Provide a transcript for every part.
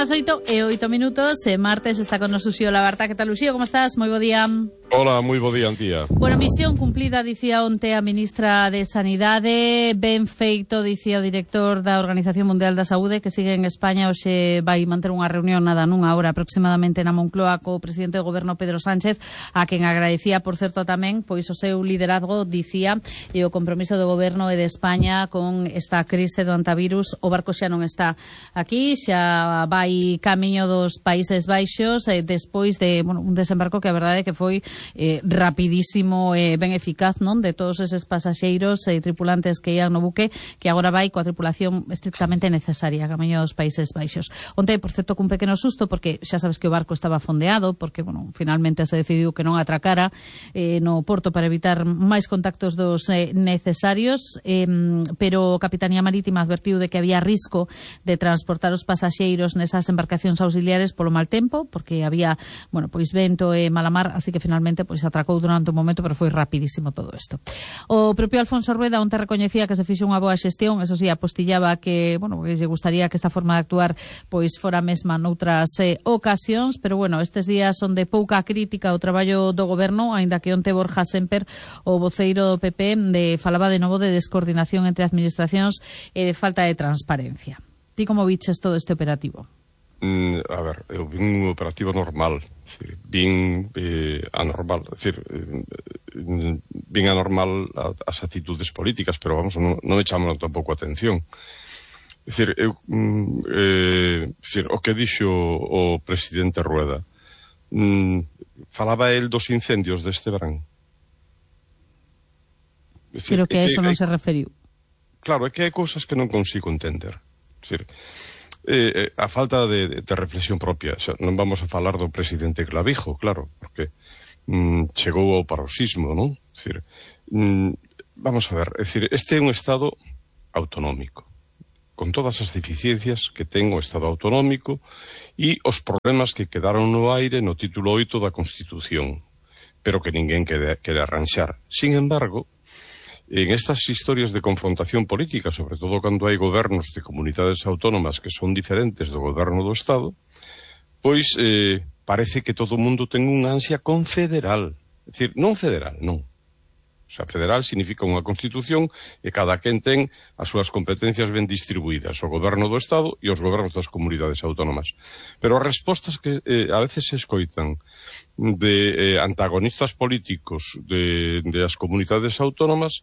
as 8:08, martes, está con nos Uxío Labarta. Que tal, Uxío? Como estás? Moi bo día. Hola, moi bo día, Antía. Bueno, misión cumplida, dicía onte a ministra de Sanidade. Ben feito, dicía o director da Organización Mundial da Saúde, que sigue en España. Hoxe vai manter unha reunión nunha hora aproximadamente na Moncloa co presidente do goberno Pedro Sánchez, a quen agradecía, por certo, tamén pois o seu liderazgo, dicía, e o compromiso do goberno e de España con esta crise do antivirus. O barco xa non está aquí, xa vai camiño dos Países Baixos, despois de un desembarco que a verdade é que foi rapidísimo e ben eficaz, non? De todos eses pasaxeiros e tripulantes que ian no buque, que agora vai coa tripulación estrictamente necesaria camiño dos Países Baixos. Onte, por certo, cun pequeno susto, porque xa sabes que o barco estaba fondeado, porque, finalmente se decidiu que non atracara no porto para evitar máis contactos dos necesarios, pero a Capitanía Marítima advertiu de que había risco de transportar os pasaxeiros nesas embarcacións auxiliares polo mal tempo, porque había, vento e mala mar, así que finalmente atracou durante un momento, pero foi rapidísimo todo isto. O propio Alfonso Rueda onte recoñecía que se fixo unha boa xestión, eso sí, apostillaba que, que lle gustaría que esta forma de actuar fora mesma noutras ocasións, pero estes días son de pouca crítica ao traballo do goberno, aínda que onte Borja Semper, o voceiro do PP, falaba de novo de descoordinación entre administracións e de falta de transparencia. Ti como viches todo este operativo? A ver, eu vin un operativo normal, vin anormal, vin anormal as actitudes políticas, pero non me chamaron tampouco a atención. O que dixo o presidente Rueda, falaba el dos incendios deste verán. Pero que a eso non se referiu. Claro, é que hai cousas que non consigo entender. A falta de reflexión propia. Non vamos a falar do presidente Clavijo, claro, porque chegou ao paroxismo, non? Vamos a ver, este é un Estado autonómico, con todas as deficiencias que ten o Estado autonómico e os problemas que quedaron no aire no título 8 da Constitución, pero que ninguén quere arranxar. Sin embargo, en estas historias de confrontación política, sobre todo cando hai gobernos de comunidades autónomas que son diferentes do goberno do Estado, pois parece que todo o mundo ten unha ansia confederal. É dicir, non federal, non. O sea, federal significa unha constitución e cada quen ten as súas competencias ben distribuídas, o goberno do Estado e os gobernos das comunidades autónomas. Pero as respostas que a veces se escoitan de antagonistas políticos de as comunidades autónomas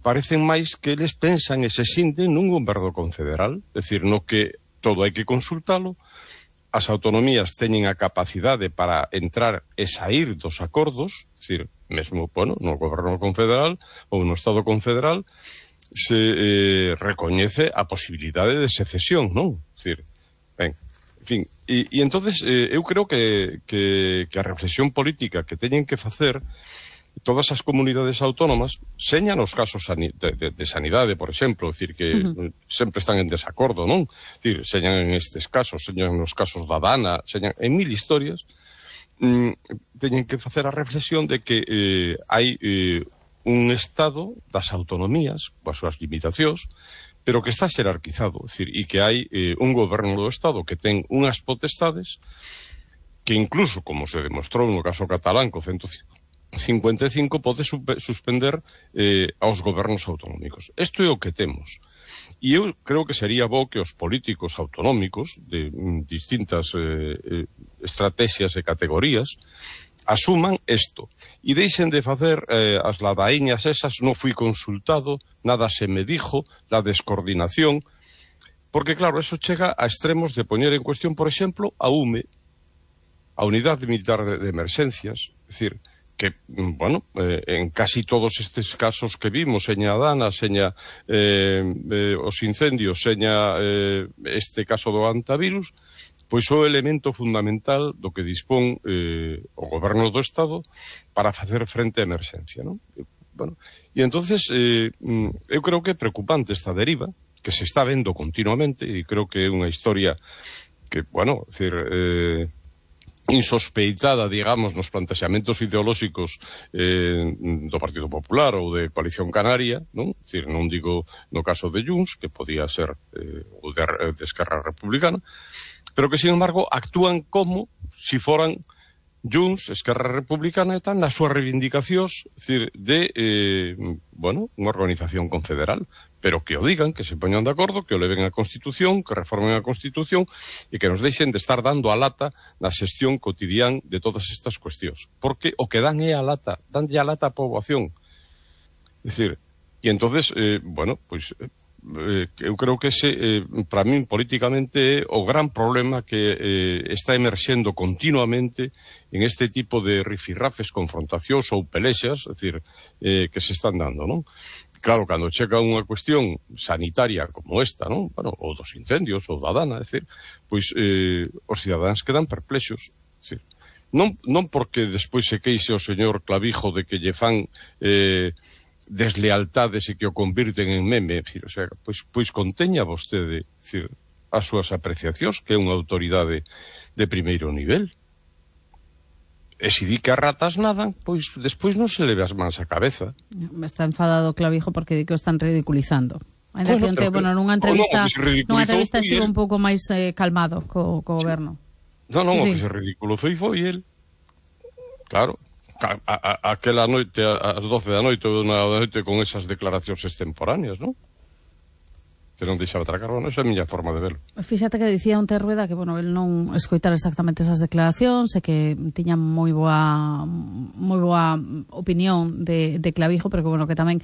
parecen máis que eles pensan e se sinten nun goberno confederal, é dicir, no que todo hai que consultalo, as autonomías teñen a capacidade para entrar e sair dos acordos, é dicir, mesmo, no goberno confederal ou no Estado confederal se recoñece a posibilidade de secesión, non? É dicir, en fin, e entonces eu creo que a reflexión política que teñen que facer todas as comunidades autónomas, señan os casos de sanidade, por exemplo, é dicir, que sempre están en desacordo, non? É dicir, señan en estes casos, señan nos casos da Dana, señan en mil historias, teñen que facer a reflexión de que hai un Estado das autonomías, coas súas limitacións, pero que está xerarquizado, é dicir, e que hai un goberno do Estado que ten unhas potestades que incluso, como se demostrou no caso catalán co 155, pode suspender aos gobernos autonómicos. Isto é o que temos. E eu creo que sería bo que os políticos autonómicos de distintas estrategias e categorías asuman isto e deixen de facer as ladaíñas esas, non fui consultado, nada se me dijo, la descoordinación, porque claro, eso chega a extremos de poñer en cuestión, por exemplo, a UME, a Unidade Militar de Emerxencias, é dicir, que, en casi todos estes casos que vimos, seña Dana, seña os incendios, seña este caso do antivirus, pois o elemento fundamental do que dispón o goberno do Estado para facer frente á emerxencia, non? E entonces eu creo que é preocupante esta deriva que se está vendo continuamente e creo que é unha historia que, insospeitada, digamos, nos plantexamentos ideolóxicos do Partido Popular ou de Coalición Canaria, non? Dicir, non digo no caso de Junts, que podía ser o de Esquerra Republicana, pero que, sin embargo, actúan como si foran Junts, Esquerra Republicana e tal, nas súas reivindicacións, dicir, de, bueno, unha organización confederal, pero que o digan, que se poñan de acordo, que o leven a Constitución, que reformen a Constitución e que nos deixen de estar dando a lata na xestión cotidián de todas estas cuestións. Porque o que dan é a lata, danlle a lata á poboación. É dicir, e entonces, bueno, pois, eu creo que ese, para min, políticamente, é o gran problema que está emerxendo continuamente en este tipo de rifirrafes, confrontacións ou pelexas, é dicir, que se están dando, non? Claro, cando chega unha cuestión sanitaria como esta, non? Bueno, ou dos incendios, ou da dana, é dicir, pois os cidadáns quedan perplexos. É dicir, non porque despois se queixe o señor Clavijo de que lle fan deslealtades e que o convirten en meme, é dicir, o sea, pois conteña vostede, é dicir, as súas apreciacións, que é unha autoridade de primeiro nivel. E se di que as ratas nadan, pois despois non se le ve as mans á cabeza. Me está enfadado Clavijo porque di que o están ridiculizando. Ainda Bueno, que pero nunha entrevista estivo el un pouco máis calmado co goberno. Non, Sí, o que se ridiculizou foi el. Claro, aquela noite, ás 12 da noite ou da noite, con esas declaracións extemporáneas, non? Que non deixaba tracar, bueno, esa é a miña forma de verlo. Fíxate que dicía Onte Rueda que, bueno, el non escoitara exactamente esas declaracións e que tiña moi boa opinión de Clavijo, pero que, bueno, que tamén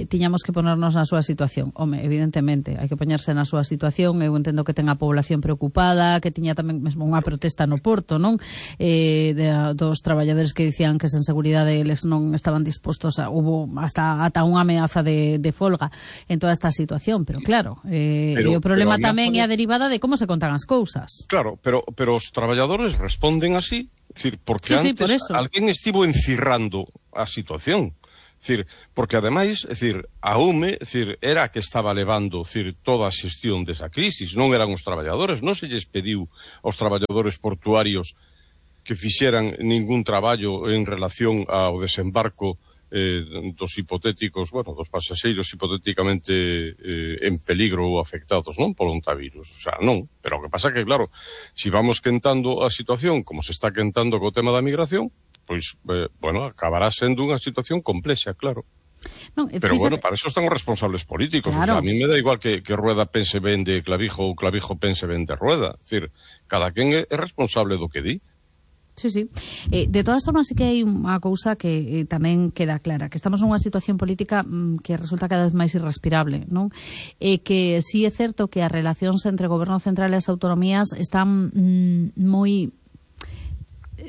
tiñamos que ponernos na súa situación. Home, evidentemente, hai que poñerse na súa situación. Eu entendo que ten a población preocupada, que tiña tamén mesmo unha protesta no Porto, non? Dos traballadores que dicían que sen seguridade eles non estaban dispostos hubo ata unha ameaza de folga en toda esta situación, pero claro, e o problema tamén é a derivada de como se contan as cousas. Claro, pero os traballadores responden así, decir, porque Sí, antes por eso. alguén estivo encirrando a situación. Decir, porque ademais, decir, a UME, decir, era a que estaba levando, decir, toda a xestión desa crisis, non eran os traballadores, non se lles pediu aos traballadores portuarios que fixeran ningún traballo en relación ao desembarco dos hipotéticos, bueno, dos pasaxeiros hipotéticamente en peligro ou afectados, non, polo ontavirus. O sea, non. Pero o que pasa que, claro, si vamos quentando a situación como se está quentando co tema da migración, pois, bueno, acabará sendo unha situación complexa, claro. Non, pero, bueno, para eso están os responsables políticos. Claro. O sea, a mí me da igual que Rueda pense ben de Clavijo ou Clavijo pense ben de Rueda. É dicir, cada quen é responsable do que di. Sí, sí. De todas formas, sí que hai unha cousa que tamén queda clara, que estamos nunha situación política que resulta cada vez máis irrespirable, non? Que sí é certo que as relacións entre o goberno central e as autonomías están moi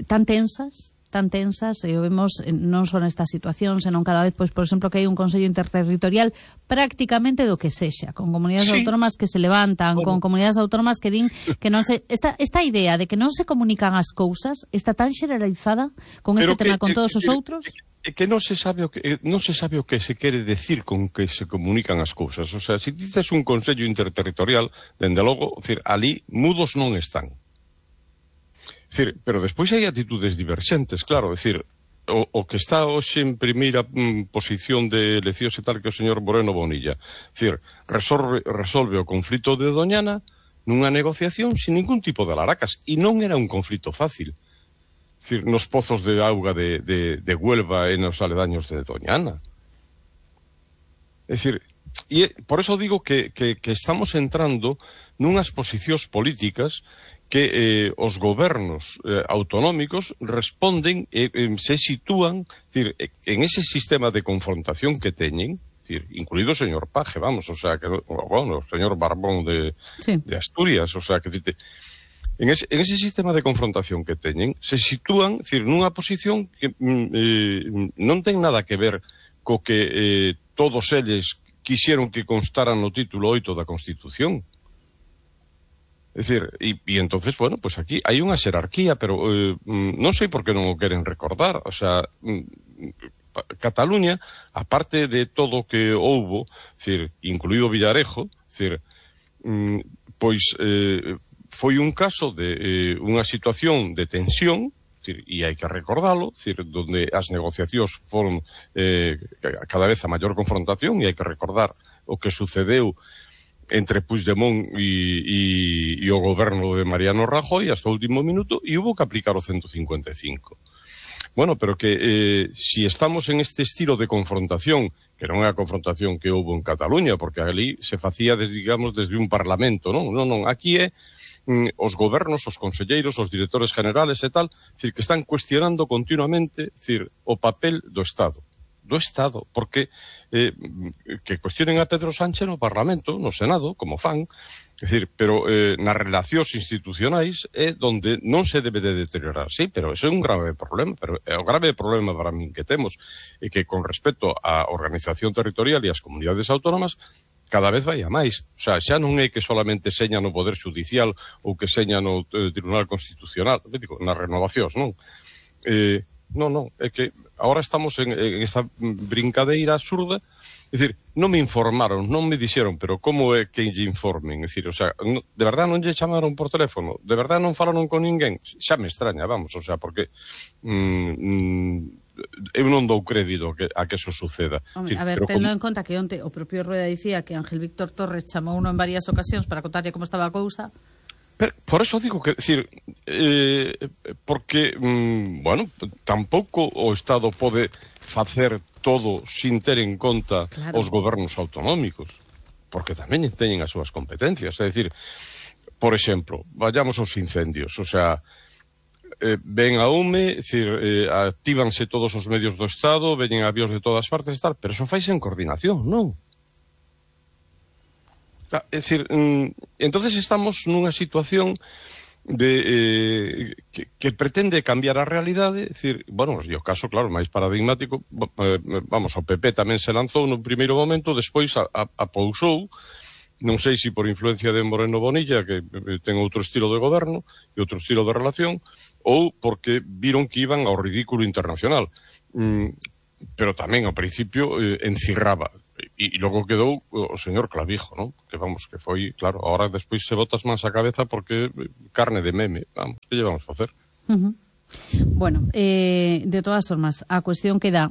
tan tensas, e o vemos non só nesta situación, senón cada vez, pois, por exemplo, que hai un Consello Interterritorial prácticamente do que sexa, con comunidades autónomas que se levantan, con comunidades autónomas que din que non se... Esta idea de que non se comunican as cousas está tan xeralizada con este tema con todos os outros... Que non se sabe o que se quere decir con que se comunican as cousas. O sea, se dices un Consello Interterritorial, dende logo, decir, ali mudos non están. Decir, pero despois hai actitudes diverxentes, claro, decir, o que está hoxe en primeira posición de eleccións e tal que o señor Moreno Bonilla, decir, resolve o conflito de Doñana nunha negociación sin ningún tipo de alaracas, e non era un conflito fácil. Decir, nos pozos de auga de Huelva e nos aledaños de Doñana. É dicir, e por eso digo que estamos entrando nunhas posicións políticas que os gobernos autonómicos responden e se sitúan, decir, en ese sistema de confrontación que teñen, decir, incluído o señor Paje, vamos, o sea, que, bueno, o señor Barbón de Asturias, o sea, que en ese sistema de confrontación que teñen, se sitúan, decir, nunha posición que non ten nada que ver co que todos eles quixeron que constaran no título 8 da Constitución. É dicir, e entonces, bueno, pues aquí hai unha xerarquía, pero non sei por que non o queren recordar. O sea, Cataluña, aparte de todo o que houbo, decir, incluído Villarejo, decir, pois foi un caso de unha situación de tensión, e hai que recordalo, donde as negociacións foron cada vez a maior confrontación, e hai que recordar o que sucedeu entre Puigdemont e o goberno de Mariano Rajoy hasta o último minuto, e hubo que aplicar o 155. Bueno, pero que si estamos en este estilo de confrontación, que non é a confrontación que houve en Cataluña, porque ali se facía, digamos, desde un parlamento, non, aquí é os gobernos, os conselleiros, os directores generales e tal, que están cuestionando continuamente, o papel do Estado, porque que cuestionen a Pedro Sánchez no Parlamento, no Senado, como fan, pero nas relacións institucionais é onde non se debe de deteriorar, sí, pero eso é un grave problema, pero o grave problema para min que temos é que con respecto á organización territorial e ás comunidades autónomas cada vez vai a máis, o sea, xa non é que solamente seña no Poder Judicial ou que seña no Tribunal Constitucional, nas renovacións, non? Non, é que agora estamos en esta brincadeira absurda. É dicir, non me informaron, non me dixeron, pero como é que lle informen? É dicir, o sea, de verdad non lle chamaron por teléfono? De verdad non falaron con ninguén? Xa me extraña, vamos, o sea, porque eu non dou crédito a que eso suceda. Hombre, a ver, tendo en conta que onte o propio Rueda dicía que Ángel Víctor Torres chamou uno en varias ocasións para contarlle como estaba a cousa. Pero, por eso digo que, porque, bueno, tampouco o Estado pode facer todo sin ter en conta os gobernos autonómicos, porque tamén teñen as súas competencias. É dicir, por exemplo, vayamos aos incendios, o sea, ven a UME, actívanse todos os medios do Estado, veñen avións de todas partes e tal, pero eso faise en coordinación, non? É dicir, entonces estamos nunha situación de que pretende cambiar a realidade, é dicir, bueno, e o caso, claro, máis paradigmático, vamos, o PP tamén se lanzou no primeiro momento, despois apousou, non sei se por influencia de Moreno Bonilla, que ten outro estilo de goberno e outro estilo de relación, ou porque viron que iban ao ridículo internacional, pero tamén ao principio encirraba. E logo quedou o señor Clavijo, ¿no? Que vamos, que foi, claro, ahora despois se botas máis a cabeza porque carne de meme, vamos, que lle vamos a facer? Bueno, de todas formas, a cuestión queda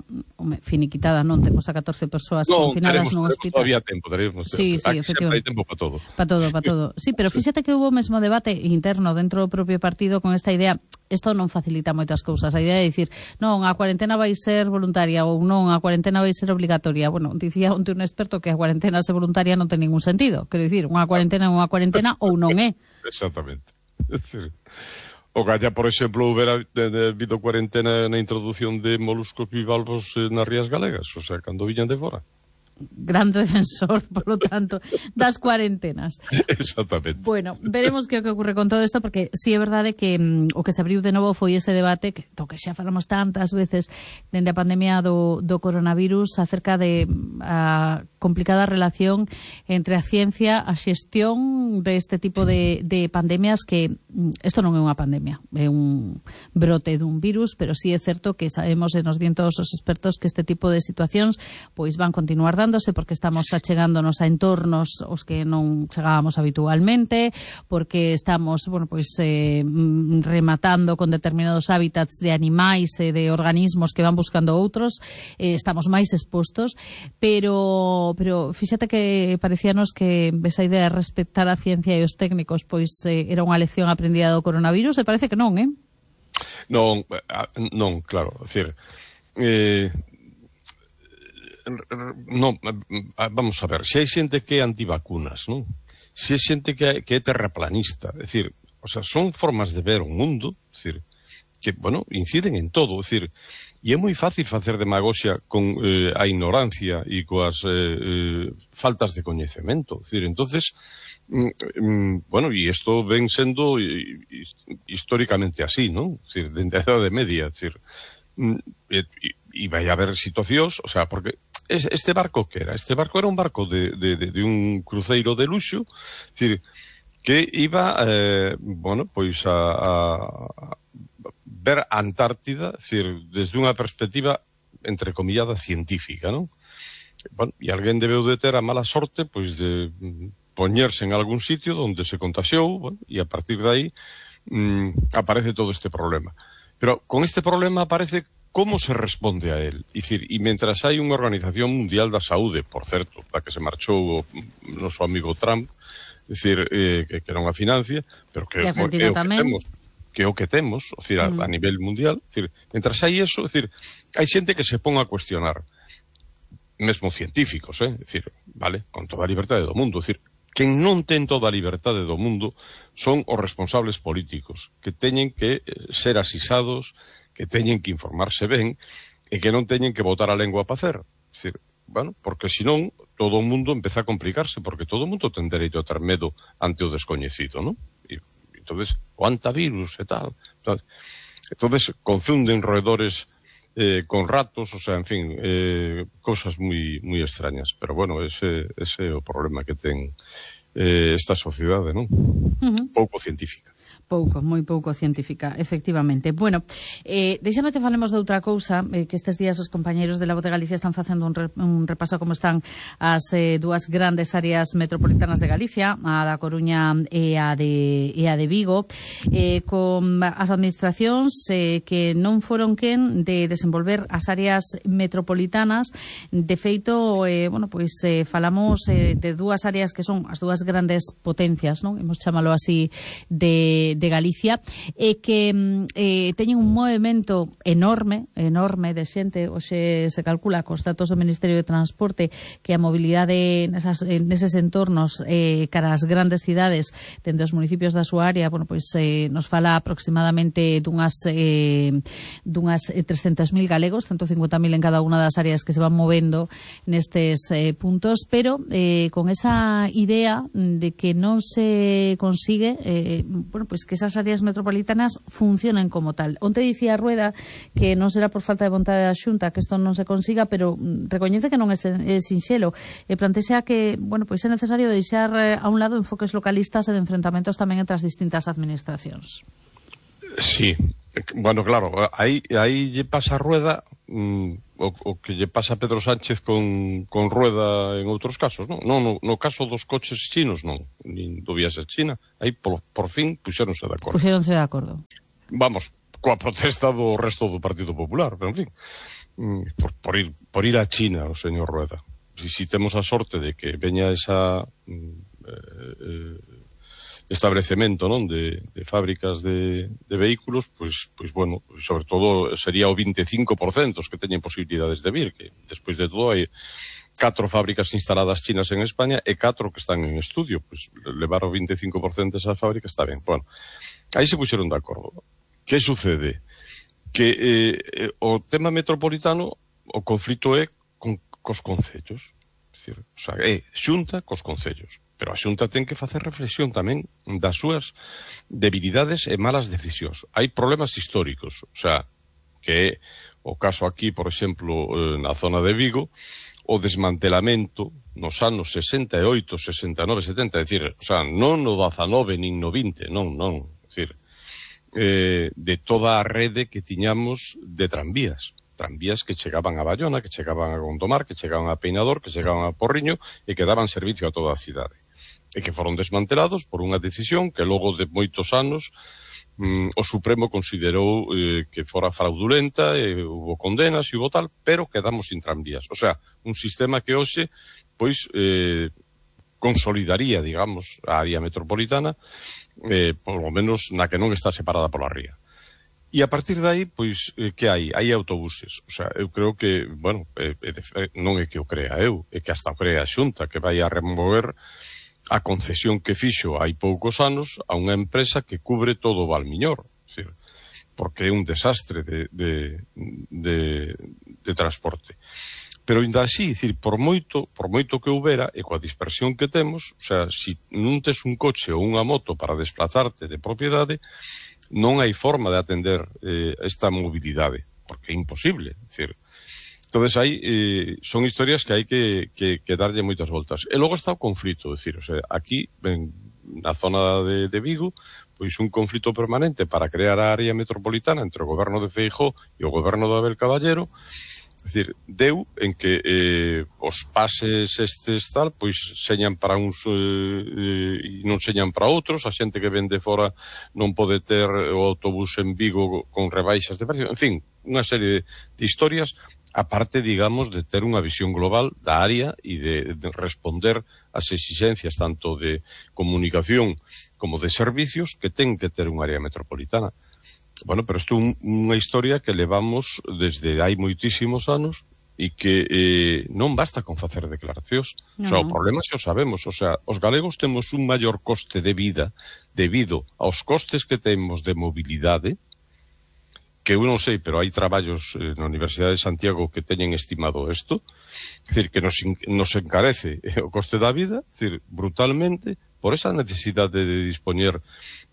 finiquitada, non temos a 14 persoas confinadas nun hospital. Todavía tempo, teremos. Sí, efectivamente. Hai tempo para todo. Para todo. Sí, pero fíxate que hubo mesmo debate interno dentro do propio partido con esta idea. Isto non facilita moitas cousas. A idea de dicir, non, a cuarentena vai ser voluntaria ou non, a cuarentena vai ser obligatoria. Bueno, dicía onte un experto que a cuarentena ser voluntaria non ten ningún sentido. Quero dicir, unha cuarentena ou non é. Exactamente. O galla, por exemplo, houbera habido cuarentena na introdución de moluscos bivalvos nas rías galegas, o sea, cando viñan de fora. Gran defensor, por lo tanto, das cuarentenas. Exactamente. Bueno, veremos que ocurre con todo isto, porque si é verdade que o que se abriu de novo foi ese debate que xa falamos tantas veces dende a pandemia do coronavirus acerca de a complicada relación entre a ciencia, a xestión deste tipo de pandemias, que isto non é unha pandemia, é un brote dun virus, pero sí é certo que sabemos e nos dien todos os expertos que este tipo de situacións pois van continuar dándose, porque estamos achegándonos a entornos os que non chegábamos habitualmente, porque estamos, bueno, pois rematando con determinados hábitats de animais e de organismos que van buscando outros, estamos máis expostos, pero fíxate que parecíanos que esa idea de respetar a ciencia e os técnicos pois era unha lección aprendida do coronavirus, e parece que non, Non, claro, é dicir, non, vamos a ver, se hai xente que é antivacunas, non? Se hai xente que é terraplanista, é dicir, o sea, son formas de ver o mundo, é dicir, que, bueno, inciden en todo, é dicir, e é moi fácil facer demagoxia con a ignorancia e coas faltas de coñecemento, é dicir, entonces, bueno, e isto ven sendo históricamente así, non? É dicir, dende a Idade Media, é dicir, e vai haber situacións, o sea, porque este barco que era? Este barco era un barco de un cruceiro de luxo, é dicir, que iba, bueno, pois a ver a Antártida, é dicir, desde unha perspectiva entrecomillada científica, non? Bueno, e alguén debeu de ter a mala sorte, pois, de poñerse en algún sitio donde se contagiou, bueno, e a partir de aí aparece todo este problema. Pero con este problema aparece como se responde a él. E mentras hai unha Organización Mundial da Saúde, por certo, da que se marchou o noso amigo Trump, que non a financia, pero que é o que temos, a nivel mundial. Mentras hai eso, hai xente que se pon a cuestionar, mesmo científicos, vale, con toda a liberdade do mundo, quen non ten toda a liberdade do mundo son os responsables políticos, que teñen que ser asisados, que teñen que informarse ben, e que non teñen que botar a lengua para facer. Bueno, porque senón todo o mundo empeza a complicarse, porque todo o mundo ten dereito a ter medo ante o descoñecido, non? E entonces, o antivirus e tal. Entonces, confunden roedores con ratos, o sea, en fin, cosas moi extrañas. Pero bueno, ese é o problema que ten esta sociedade, non? Pouco científica. Moi pouco científica, efectivamente. Bueno, deixame que falemos de outra cousa, que estes días os compañeiros de La Voz de Galicia están facendo un repaso como están as dúas grandes áreas metropolitanas de Galicia, a da Coruña e a de Vigo, con as administracións que non foron quen de desenvolver as áreas metropolitanas. De feito, falamos de dúas áreas que son as dúas grandes potencias, non? Imos chamalo así, de Galicia, e que teñen un movimento enorme de xente. Hoxe se calcula cos datos do Ministerio de Transporte que a mobilidade neses entornos cara ás grandes cidades dende os municipios da súa área, nos fala aproximadamente dunhas 300.000 galegos, 150.000 en cada unha das áreas que se van movendo nestes puntos, pero con esa idea de que non se consigue que esas áreas metropolitanas funcionen como tal. Onte dicía Rueda que non será por falta de vontade da Xunta que isto non se consiga, pero recoñece que non é sinxelo, e plantea que, é necesario deixar a un lado enfoques localistas e de enfrentamentos tamén entre as distintas administracións. Sí, bueno, claro, aí lle pasa a Rueda o que lle pasa a Pedro Sánchez con Rueda en outros casos, non? No caso dos coches chinos, non, nin do viaxe a China, aí por fin puxéronse de acordo. Vamos, coa protesta do resto do Partido Popular, pero en fin, por ir a China o señor Rueda. Si temos a sorte de que veña esa establecemento, non, de fábricas de vehículos, pois bueno, sobre todo sería o 25% os que teñen posibilidades de vir, que despois de todo hai 4 fábricas instaladas chinas en España e 4 que están en estudio, pois levar o 25% desas fábricas está ben. Bueno, aí se puxeron de acordo. Que sucede? Que o tema metropolitano, o conflito é cos concellos, é Xunta cos concellos. Pero a Xunta ten que facer reflexión tamén das súas debilidades e malas decisións. Hai problemas históricos, que é o caso aquí, por exemplo, na zona de Vigo, o desmantelamento nos anos 68, 69, 70, non no 19 nin no 20, non, de toda a rede que tiñamos de tranvías que chegaban a Bayona, que chegaban a Gondomar, que chegaban a Peinador, que chegaban a Porriño e que daban servicio a toda a cidade. E que foron desmantelados por unha decisión que logo de moitos anos o Supremo considerou que fora fraudulenta, hubo condenas e hubo tal, pero quedamos sin tranvías. Un sistema que hoxe consolidaría, digamos, a área metropolitana, por lo menos na que non está separada pola ría. E a partir de aí, que hai? Hai autobuses. Eu creo que, non é que o crea eu, é que hasta o crea a Xunta, que vai a remover a concesión que fixo hai poucos anos a unha empresa que cubre todo o Valmiñor, porque é un desastre de transporte. Pero ainda así, por moito que houbera, e coa dispersión que temos, se non tes un coche ou unha moto para desplazarte de propiedade, non hai forma de atender esta mobilidade, porque é imposible, Entonces son historias que hai que darlle moitas voltas. E logo está o conflito, aquí, na zona de Vigo, un conflito permanente para crear a área metropolitana entre o goberno de Feijóo e o goberno de Abel Caballero, decir, deu en que os pases estes tal, pois señan para uns e non señan para outros, a xente que vende fora non pode ter o autobús en Vigo con rebaixas de precio, en fin, unha serie de historias, aparte, digamos, de ter unha visión global da área e de responder ás exigencias tanto de comunicación como de servicios que ten que ter unha área metropolitana. Bueno, pero isto é unha historia que levamos desde hai moitísimos anos e que non basta con facer declaracións. No. O sea, o problema é que o sabemos. O sea, os galegos temos un maior coste de vida debido aos costes que temos de mobilidade, que eu non sei, pero hai traballos na Universidade de Santiago que teñen estimado isto, é dicir, que nos encarece o coste da vida, é dicir, brutalmente, por esa necesidade de dispoñer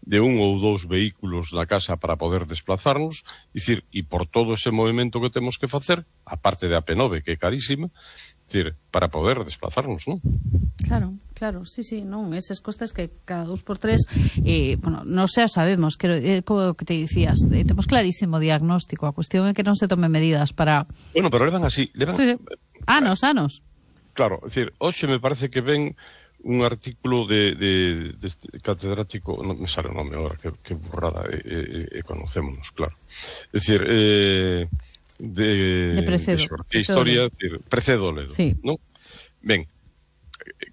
de un ou dous vehículos na casa para poder desplazarnos, dicir, e por todo ese movimento que temos que facer, a parte de a P9, que é carísima, dicir, para poder desplazarnos, non? Claro, sí, non, eses costes que cada 2x3, bueno, non xa sabemos, como que te dicías, temos clarísimo diagnóstico, a cuestión é que non se tomen medidas para... Bueno, pero levan así, Sí. Anos. Claro, é dicir, hoxe me parece que ven un artículo de catedrático, non me sale o nome agora, que burrada, conocémonos, claro. É dicir, de Precedo. Que historia, decir, Precedo Ledo, sí. Non? Ben,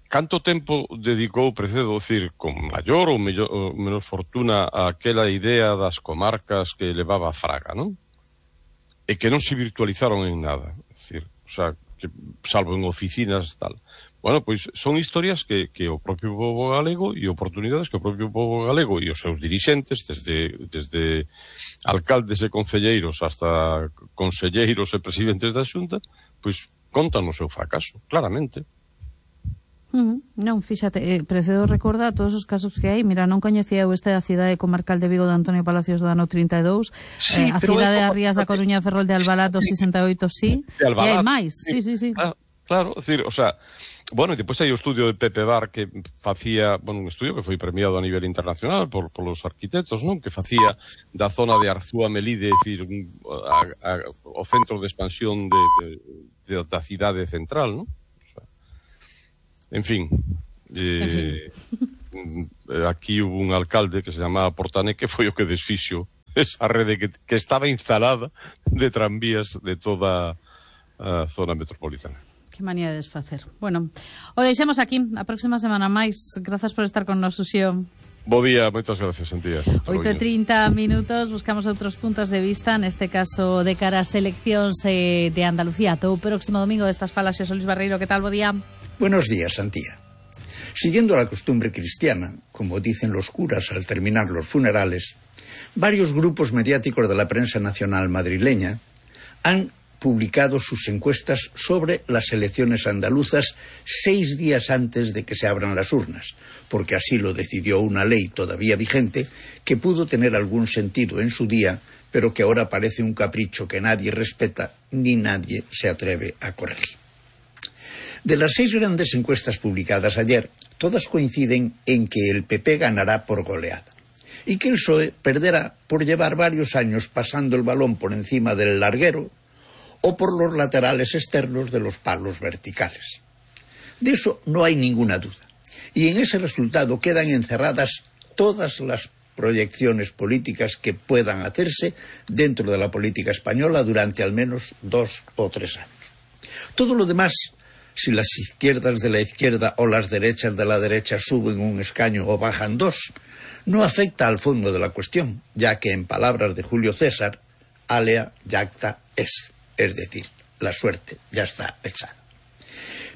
canto tempo dedicou Precedo, decir, con maior ou menor fortuna a aquela idea das comarcas que levaba Fraga, non? E que non se virtualizaron en nada, decir, o sea, que, salvo en oficinas tal. Bueno, pois son historias que o propio pobo galego e oportunidades que o propio pobo galego e os seus dirixentes, desde alcaldes e concelleiros hasta conselleiros e presidentes da Xunta, pois contan o seu fracaso, claramente. Non, fíxate, Precedo recorda todos os casos que hai. Mira, non coñecía eu esta da cidade comarcal de Vigo de Antonio Palacios do ano 32, sí, a cidade de Rías da Coruña Ferrol de Albalá do 68, sí, e hai máis, sí. Claro, decir, o sea, bueno, e depois hai o estudio de Pepe Bar que facía, bueno, un estudio que foi premiado a nivel internacional polos arquitectos, non? Que facía da zona de Arzúa Melide, decir, o centro de expansión da cidade central, non? O sea, en fin. Aquí hubo un alcalde que se chamaba Portané que foi o que desfixo esa rede que estaba instalada de tranvías de toda a zona metropolitana. Que manía de desfacer. Bueno, o deixemos aquí, a próxima semana máis. Grazas por estar con nos, Uxío. Bo día, moitas gracias, Antía. 8:30 minutos, buscamos outros puntos de vista, neste caso de cara ás eleccións de Andalucía. Todo o próximo domingo destas falas, Xosé Luis Barreiro, que tal, bo día? Buenos días, Antía. Siguiendo la costumbre cristiana, como dicen los curas al terminar los funerales, varios grupos mediáticos de la prensa nacional madrileña han publicado sus encuestas sobre las elecciones andaluzas 6 días antes de que se abran las urnas, porque así lo decidió una ley todavía vigente que pudo tener algún sentido en su día, pero que ahora parece un capricho que nadie respeta ni nadie se atreve a corregir. De las 6 grandes encuestas publicadas ayer, todas coinciden en que el PP ganará por goleada y que el PSOE perderá por llevar varios años pasando el balón por encima del larguero o por los laterales externos de los palos verticales. De eso no hay ninguna duda. Y en ese resultado quedan encerradas todas las proyecciones políticas que puedan hacerse dentro de la política española durante al menos 2 o 3 años. Todo lo demás, si las izquierdas de la izquierda o las derechas de la derecha suben un escaño o bajan 2, no afecta al fondo de la cuestión, ya que en palabras de Julio César, alea jacta est. Es decir, la suerte ya está echada.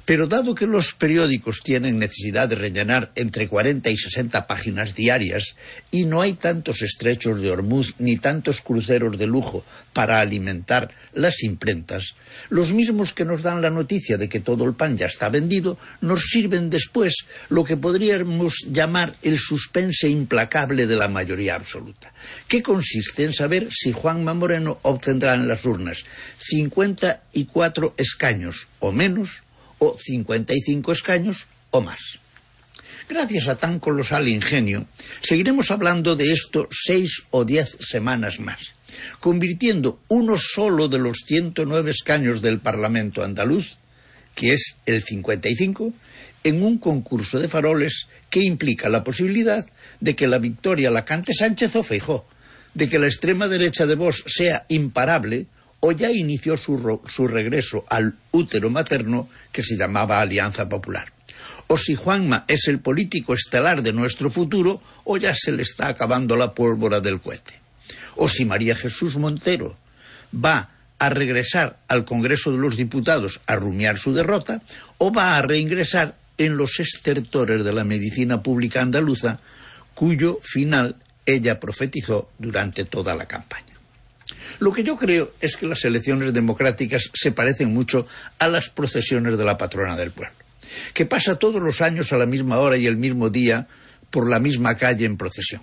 Pero dado que los periódicos tienen necesidad de rellenar entre 40 y 60 páginas diarias y no hay tantos estrechos de Ormuz ni tantos cruceros de lujo para alimentar las imprentas, los mismos que nos dan la noticia de que todo el pan ya está vendido, nos sirven después lo que podríamos llamar el suspense implacable de la mayoría absoluta, que consiste en saber si Juanma Moreno obtendrá en las urnas 54 escaños o menos, o 55 escaños o más. Gracias a tan colosal ingenio, seguiremos hablando de esto 6 o 10 semanas más. convirtiendo uno solo de los 109 escaños del Parlamento andaluz, que es el 55, en un concurso de faroles que implica la posibilidad de que la victoria la cante Sánchez o Feijóo, de que la extrema derecha de Vox sea imparable o ya inició su regreso al útero materno que se llamaba Alianza Popular. O si Juanma es el político estelar de nuestro futuro o ya se le está acabando la pólvora del cohete. O si María Jesús Montero va a regresar al Congreso de los Diputados a rumiar su derrota o va a reingresar en los estertores de la medicina pública andaluza, cuyo final ella profetizó durante toda la campaña. Lo que yo creo es que las elecciones democráticas se parecen mucho a las procesiones de la patrona del pueblo, que pasa todos los años a la misma hora y el mismo día por la misma calle en procesión,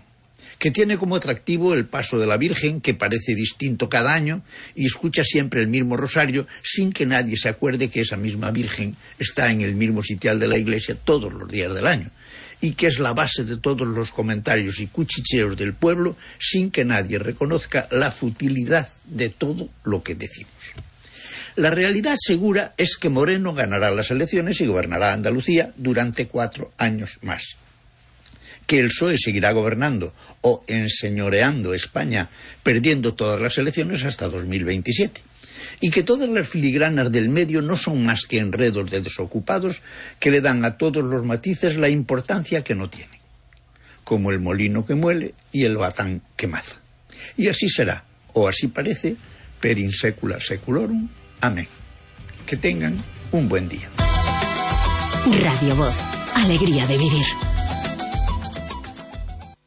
que tiene como atractivo el paso de la Virgen, que parece distinto cada año y escucha siempre el mismo rosario sin que nadie se acuerde que esa misma Virgen está en el mismo sitial de la iglesia todos los días del año, y que es la base de todos los comentarios y cuchicheos del pueblo sin que nadie reconozca la futilidad de todo lo que decimos. La realidad segura es que Moreno ganará las elecciones y gobernará Andalucía durante 4 años más. Que el PSOE seguirá gobernando o enseñoreando España, perdiendo todas las elecciones hasta 2027. Y que todas las filigranas del medio no son más que enredos de desocupados que le dan a todos los matices la importancia que no tienen, como el molino que muele y el batán que maza. Y así será, o así parece, per in secula seculorum. Amén. Que tengan un buen día. Radio Voz, alegría de vivir.